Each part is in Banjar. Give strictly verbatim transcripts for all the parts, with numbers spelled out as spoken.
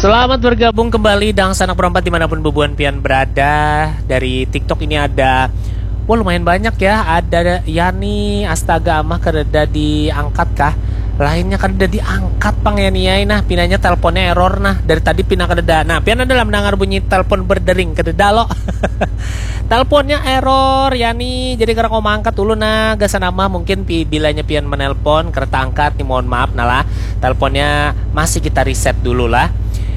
Selamat bergabung kembali dangsanak berempat dimanapun bubuhan pian berada. Dari TikTok ini ada, wah, lumayan banyak ya. Ada Yani, astaga, amah kadada diangkat kah? Lainnya kadada diangkat pang, Yani ai. Nah, pinanya teleponnya error nah. Dari tadi pina kadada. Nah, pian ada lah mendengar bunyi telepon berdering, kadada lo. Teleponnya error, Yani. Jadi kada kawa maangkat dulu nah. Gasan amah mungkin pi-, bilanya pian menelpon, kada taangkat nih, mohon maaf nah lah. Teleponnya masih kita reset dulu lah.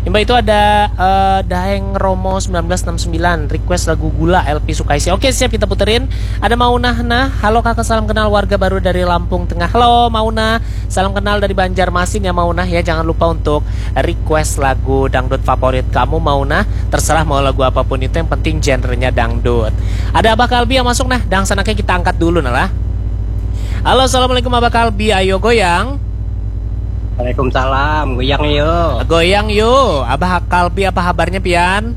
Imbah itu ada eh, Daeng Romo sembilan belas enam sembilan, request lagu Gula L P Sukaisi. Oke, siap, kita puterin. Ada Maunah nah. Halo kakak, salam kenal, warga baru dari Lampung Tengah. Halo Maunah, salam kenal dari Banjarmasin ya Maunah ya. Jangan lupa untuk request lagu dangdut favorit kamu Maunah. Terserah mau lagu apapun itu, yang penting genrenya dangdut. Ada Abah Kalbi yang masuk nah, dangsanaknya kita angkat dulu nah lah. Halo, assalamualaikum Abah Kalbi, ayo goyang. Waalaikumsalam, goyang yo. Goyang yo. Abah Kalbi, apa kabarnya pian?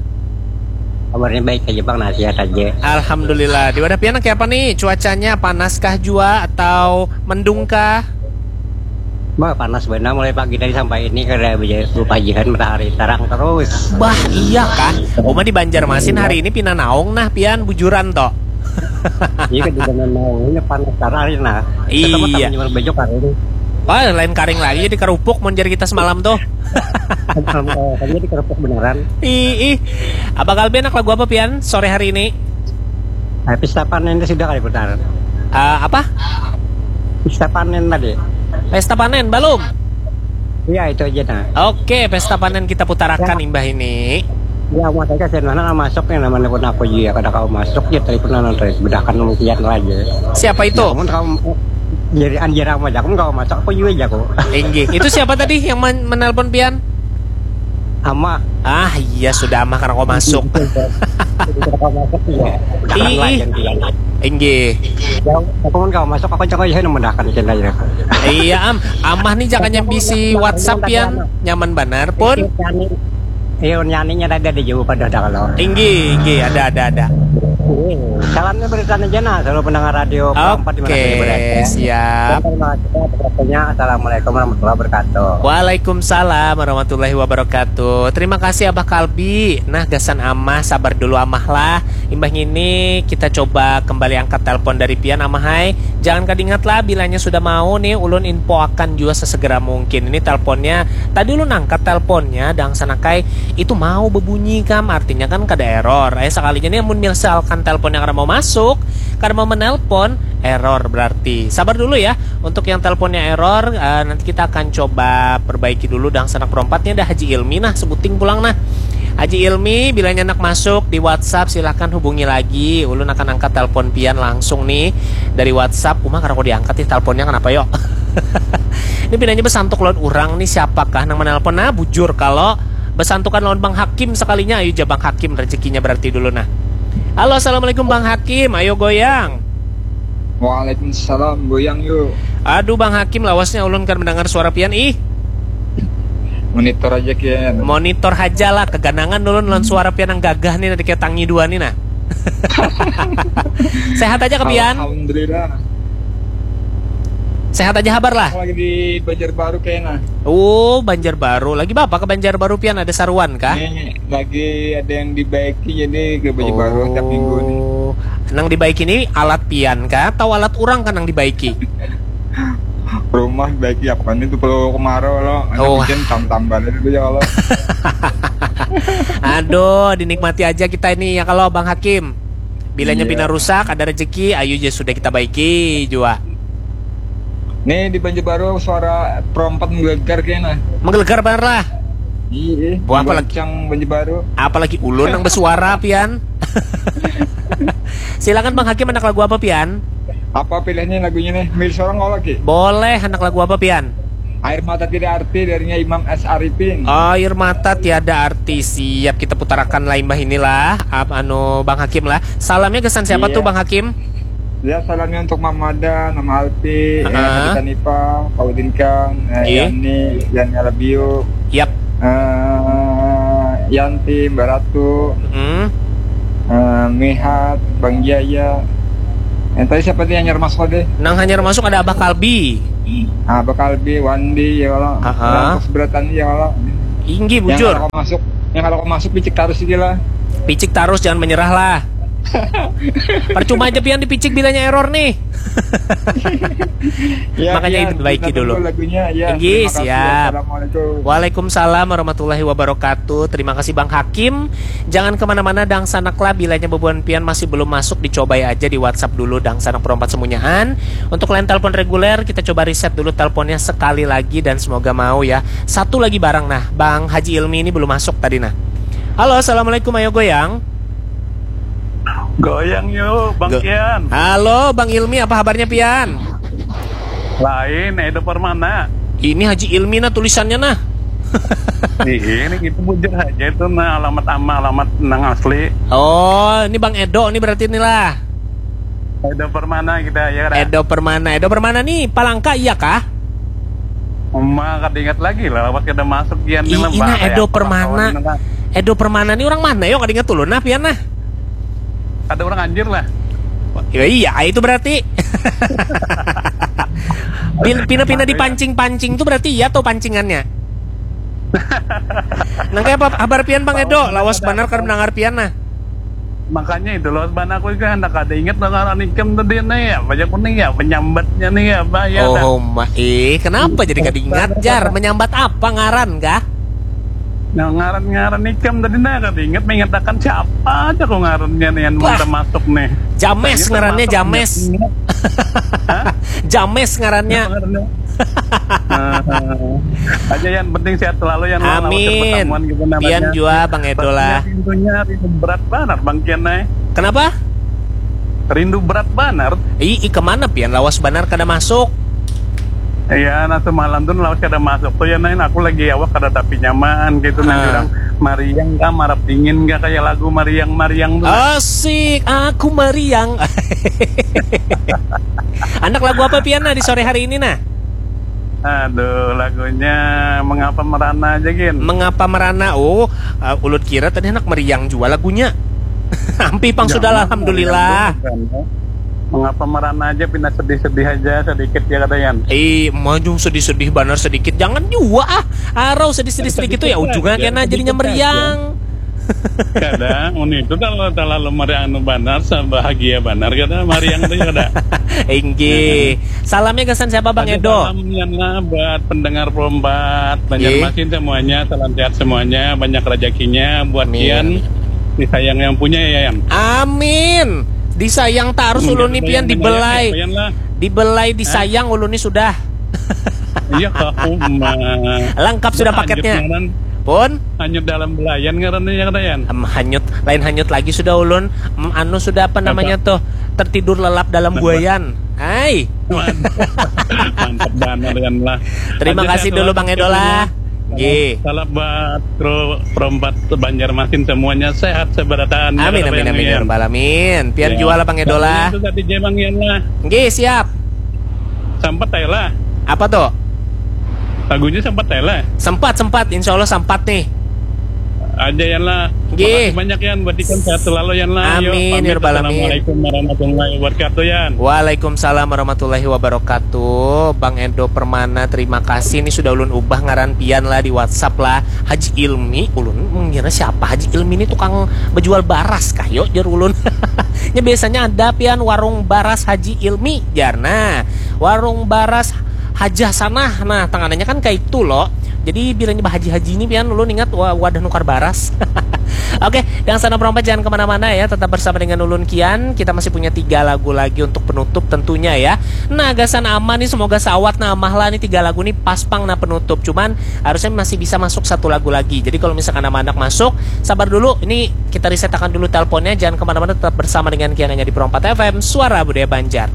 Kabarnya baik aja bang, nah, sehat aja. Alhamdulillah. Di wadah pian kayak apa nih? Cuacanya panaskah jua atau mendungkah? Bah, panas benar mulai pagi tadi sampai ini kada beja-, bepajihan, matahari tarang terus. Bah, iya kah? Uma di Banjarmasin hari ini pina naung nah pian, bujuran toh. Iya, kan juga mau ini panas hari nah. Iya. Sama teman jual baju karing. Wah, lain karing lagi, jadi kerupuk mau jadi kita semalam tuh. Kalau, eh, kan jadi kerupuk beneran. Ih, ih. Abah Kalbi, anak lagu apa pian sore hari ini? Eh, pesta panen itu sudah kali putar. Eh, apa? Pesta panen tadi. Pesta panen belum? Iya, itu aja nah. Oke, pesta panen kita putarakan imbah ini. Ya, mau saya kasih mana masuk yang namanya pun aku juga kada kau masuk ya, tapi pernah nonton bedakan mungkin aja. Siapa itu? Ya, kamu kau jadi anjir apa aja, kamu kau masuk aku juga jago. Inggih. Itu siapa tadi yang men- menelpon pian? Ama. Ah, iya, sudah, Ama, karena kau masuk. Jadi kada kau masuk juga. Ih, ih. Inggih. Ya, aku pun kau masuk, aku jago ya, yang membedakan kita ya. Iya, Am. Amah nih jangan nyambisi WhatsApp pian. Nyaman banar pun. Iya, nyanyinya tadi ada jauh pada ada kalau. Inggih, inggih, ada, ada, ada. Salamnya berikan aja nah, selalu pendengar radio Oke, empat di mana saja berada. Siap. Dan terima kasih atas waktunya. Assalamualaikum warahmatullahi wabarakatuh. Waalaikumsalam warahmatullahi wabarakatuh. Terima kasih Abah Kalbi. Nah, gasan Amah, sabar dulu Amah lah. Imbah ini kita coba kembali angkat telepon dari pian Amah hai. Jangan kadingat lah, bilanya sudah mau nih, ulun infoakan jua sesegera mungkin. Ini teleponnya, tadi ulun angkat teleponnya, dangsanakai itu mau bebunyi kam, artinya kan kada error. Eh, sekalinya nih, amun misalkan teleponnya kada mau masuk, kada mau menelpon, error berarti. Sabar dulu ya, untuk yang teleponnya error, eh, nanti kita akan coba perbaiki dulu. Dangsanak berompatnya ada Haji Ilmi nah, sebuting pulang nah. Haji Ilmi, bilanya nak masuk di WhatsApp, silahkan hubungi lagi. Ulun akan angkat telepon pian langsung nih dari WhatsApp. Uma, kada aku diangkat nih teleponnya, kenapa yo? Ini pinanya besantuk lawan urang nih, siapakah nang menelpon? Nah, bujur kalau besantukan lawan Bang Hakim sekalinya, ayo ja Bang Hakim rezekinya berarti dulu nah. Halo, assalamualaikum Bang Hakim, ayo goyang. Waalaikumsalam, goyang yuk. Aduh Bang Hakim, lawasnya ulun kan mendengar suara pian ih. Monitor aja kian. Monitor aja lah, keganangan ulun lawan suara pian yang gagah nih, nanti kayak tangi dua nih nah. Sehat aja ke pian? Alhamdulillah. Sehat aja habar lah. Aku lagi di Banjarbaru kayaknya. Oh, Banjarbaru. Lagi bapak ke Banjarbaru pian, ada saruan kah? Ini lagi ada yang dibaiki, jadi ke Banjarbaru tiap minggu nih. Oh, nang dibaiki ini alat pian kah? Atau alat urang kah nang dibaiki? Rumah dibaiki apa nih tuh kalau kemarau lo, ada oh, hujan tam-tambalan itu ya Allah. Aduh, dinikmati aja kita ini ya kalau Bang Hakim. Bilanya pina rusak, ada rezeki, ayo aja sudah kita baiki jua. Nih di Banjarbaru suara perompat menggelegar kayaknya. Menggelegar bener lah. Iya. Buah apalagi Banjarbaru. Apalagi ulun yang bersuara pian. Silakan Bang Hakim, anak lagu apa pian? Apa pilihannya lagunya nih? Milih seorang kau lagi? Boleh, anak lagu apa pian? Air mata tiada arti darinya Imam S Arifin. Air mata tiada arti, siap kita putarakan lah imbah inilah. Ap, anu Bang Hakim lah. Salamnya kesan siapa tuh Bang Hakim? Ya, salamnya untuk Mama Ada, Mama Alpi, uh-huh. Hanifah, Pak Udin Kang, eh, Yani, Yani Alabio. Yap. Eh, Yanti, Mbak Ratu. Hmm. Eh, Mihat, Bang Jaya. Yang tadi siapa tadi yang nyermas kode? Nang hanyar masuk ada Abah Kalbi. Ah, Abah Kalbi, Wandi, ya Allah. Aha. Terus beratan ya Allah. Inggi, bujur. Yang kalau masuk, yang kalau masuk picik tarus aja lah. Picik tarus, jangan menyerah lah. Percuma aja pian dipicik bilanya error nih. Ya, makanya ya, diperbaiki dulu. Lagunya, ya. Inggi, siap. Assalamualaikum. Waalaikumsalam warahmatullahi wabarakatuh. Terima kasih Bang Hakim. Jangan kemana-mana, dangsanak lah, bilanya bubuhan pian masih belum masuk, dicobai aja di WhatsApp dulu, dangsanak perompat semunyaan. Untuk line telepon reguler, kita coba reset dulu teleponnya sekali lagi dan semoga mau ya. Satu lagi barang nah, Bang Haji Ilmi ini belum masuk tadi nah. Halo, assalamualaikum, ayo goyang. Goyang yuk, Bang Kian. Halo, Bang Ilmi, apa kabarnya pian? Lain, Edo Permana. Ini Haji Ilmi nah tulisannya nah. Ini itu bujur aja itu nah, alamat ama, alamat nang asli. Oh, ini Bang Edo nih berarti nih lah. Edo Permana kita ya kan? Edo Permana, Edo Permana nih Palangka iya kah? Uma kada ingat lagi lah, lawas kada masuk kian nih lah. Ina Edo Permana. Edo Permana nih orang mana yo, kada ingat dulu nah pian nah. Ada orang anjir lah. Ya iya, itu berarti. Pina-pina dipancing-pancing tuh berarti iya tuh pancingannya. Nang kayak apa kabar pian Bang Edo? Lawas banar kada mendengar pian nah. Makanya itu lawas banar aku juga hendak ada ingat ngaran ikam tadi nih ya, banyak nih ya penyambatnya nih ya, apa ya. Oh, ma eh, kenapa jadi kada ingat jar? Menyambat apa ngaran kah? Nah, ngaran-ngaran ikam tadi nah kada ingat mengatakan siapa aja kok ngarannya nih yang termasuk nih. James ngarannya, James. James ngarannya. Aja yang penting sehat selalu ya. Amin. Pian jua Bang Edo lah. Rindunya rindu berat banget Bang Kian nih. Kenapa? Rindu berat banar. Ih, ih kemana pian lawas banar kada masuk? Iya, nah semalam tuh lawas kada masuk tuh ya, Nain. Aku lagi awak kada tapi nyaman gitu, nah. Orang mariang kah, marap dingin kah, kayak lagu mariang-mariang tuh. Asik, aku mariang. Anak lagu apa pian nah di sore hari ini nah? Aduh, lagunya Mengapa Merana aja gin. Mengapa Merana? Oh, uh, ulut kira tadi anak meriang jua lagunya. Ampih pang sudah lah, alhamdulillah. Mengapa merana aja, pina sedih-sedih aja sedikit ya kata Yan. Eh, maju sedih-sedih banar sedikit. Jangan jua ah. Arau sedih-sedih sedikit tuh ya ujungnya kena jadinya meriang. Kadang mun itu kalau terlalu meriang anu banar, bahagia banar kada meriang tuh kada. Inggih. Salamnya gasan siapa Bang Edo? Salamnya lah buat pendengar Perompat Banjarmasin semuanya, salam sehat semuanya, banyak rezekinya buat Yan. Disayang yang punya ya Yan. Amin. Disayang tarus ulun nih pian, dibelai. Dibelai disayang ulun nih sudah. Iya kak Uma. Lengkap sudah paketnya. Pun hanyut dalam belayan ngarannya ya kata Yan. Em, hanyut, lain hanyut lagi sudah ulun. Em, anu sudah apa namanya tuh? Tertidur lelap dalam buayan. Hai. Mantap banget Yan lah. Terima kasih dulu Bang Edo lah. Nggih. Salam buat kru Perompat Banjarmasin semuanya sehat seberataan. Amin, amin, amin, ya rabbal alamin. Pian jua lah Bang Edo lah. Itu tadi Jemang Yan lah. Nggih, siap. Sempat aja lah. Apa tuh? Lagunya sempat aja lah. Sempat, sempat. Insya Allah sempat nih. Aja Yan lah. Nggih. Makasih banyak Yan, buat ikam sehat selalu Yan lah. Amin, ya rabbal alamin. Assalamualaikum warahmatullahi wabarakatuh Yan. Waalaikumsalam warahmatullahi wabarakatuh. Bang Edo Permana, terima kasih nih sudah ulun ubah ngaran pian lah di WhatsApp lah. Haji Ilmi, ulun mengira siapa Haji Ilmi ini, tukang bejual baras kah yo jar ulun. Nya biasanya ada pian warung baras Haji Ilmi jar. Nah, warung baras Hajah Sanah. Nah, tanganannya kan kayak itu loh. Jadi bilanya bahaji-haji ini pian ulun ingat wa- wadah nukar baras. Oke, dangsanak Perompat jangan kemana-mana ya, tetap bersama dengan ulun Kian. Kita masih punya tiga lagu lagi untuk penutup tentunya ya. Nah, gasan Ama nih, semoga sawat nah Amah lah nih, tiga lagu nih pas pang nah penutup. Cuman harusnya masih bisa masuk satu lagu lagi. Jadi kalau misalkan Ama anak masuk, sabar dulu. Ini kita reset akan dulu teleponnya. Jangan kemana-mana, tetap bersama dengan Kian hanya di Perompat F M, Suara Budaya Banjar.